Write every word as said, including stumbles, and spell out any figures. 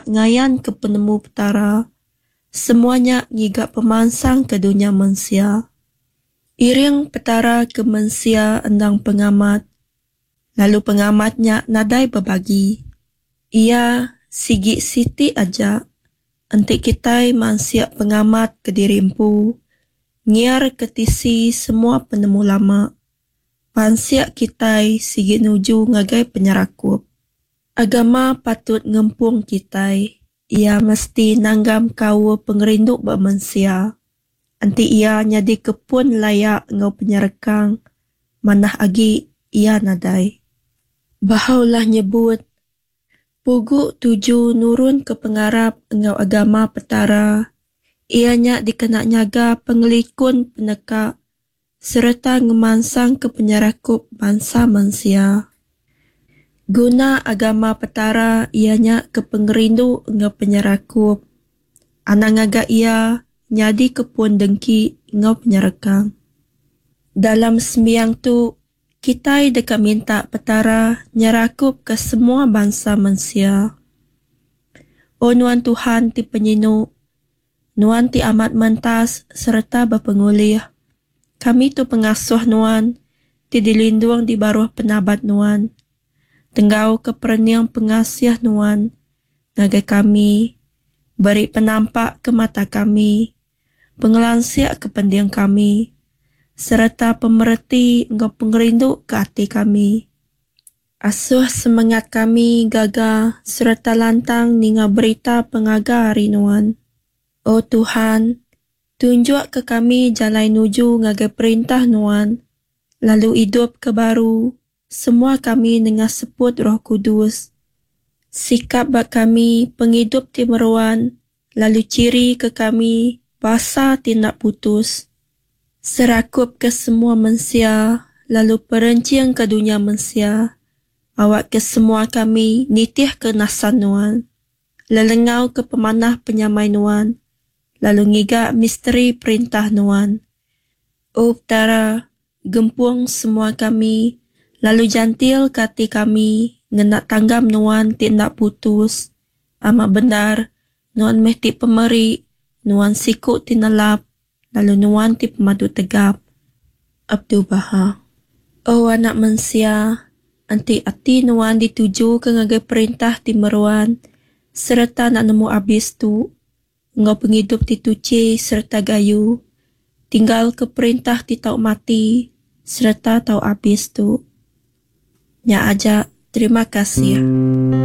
ngayanka penemu Petara. Semua nya ngiga pemansang ke dunya mensia. Iring Petara ke mensia endang pengamat, lalu pengamat nya nadai bebagi. Iya sigi siti aja. Enti kitai mansik pengamat kediri empu, ngiarka tisi semua penemu lama, pansik kitai sigi nuju ngagai penyerakup. Agama patut ngempung kitai. Iya mesti nanggam kaul pengerindu ba mensia. Enti iya nyadika pun laya enggau penyerekang, manah agi iya nadai. Baha'u'llah nyebut, Pugu tuju nurunka pengarap enggau agama Petara iya nya dikena nyaga pengelikun peneka sereta ngemansangka penyerakup bansa mensia. Guna agama Petara iya nya ke pengerindu enggau penyerakup. Anang ngaga iya nyadika pun dengki enggau penyerekang. Dalam sembiang tu, kitai deka minta Petara nyerakupka semua bansa mensia. O Nuan Tuhan ti penyinu, Nuan ti amat mentas sereta bepengulih, kami tu pengasuh Nuan ti dilindung di baruh penabat Nuan. Tenggauka perening pengasih Nuan ngagai kami, beri penampak ke mata kami, pengelansik ke pending kami, sereta pemereti enggau pengerindu ke ati kami. Asuh semengat kami gaga sereta lantang ninga berita pengaga ari Nuan. O Tuhan, tunjukka kami jalai nuju ngagai Perintah Nuan, lalu idupka baru semua kami nengah seput Roh Kudus. Sikap ba kami pengidup ti meruan lalu chirika kami basa ti enda putus. Serakupka semua mensia lalu perenchingka dunya mensia, awakka semua kami nitihka nasan Nuan, lelengauka pemanah penyamai Nuan, lalu ngiga misteri Perintah Nuan. O Petara, gempung semua kami lalu jantilka ati kami ngena tanggam Nuan ti enda putus. Amat bendar, Nuan meh ti pemeri, Nuan siku ti nelap, lalu Nuan ti pemadu tegap. Abdu'l-Bahá. O anak mensia, enti ati nuan ditujuka ngagai perintah ti meruan sereta enda nemu abis tu, enggau pengidup ti tuchi sereta gayu, tinggalka perintah ti tau mati sereta tau abis tu. Nya aja, terima kasih.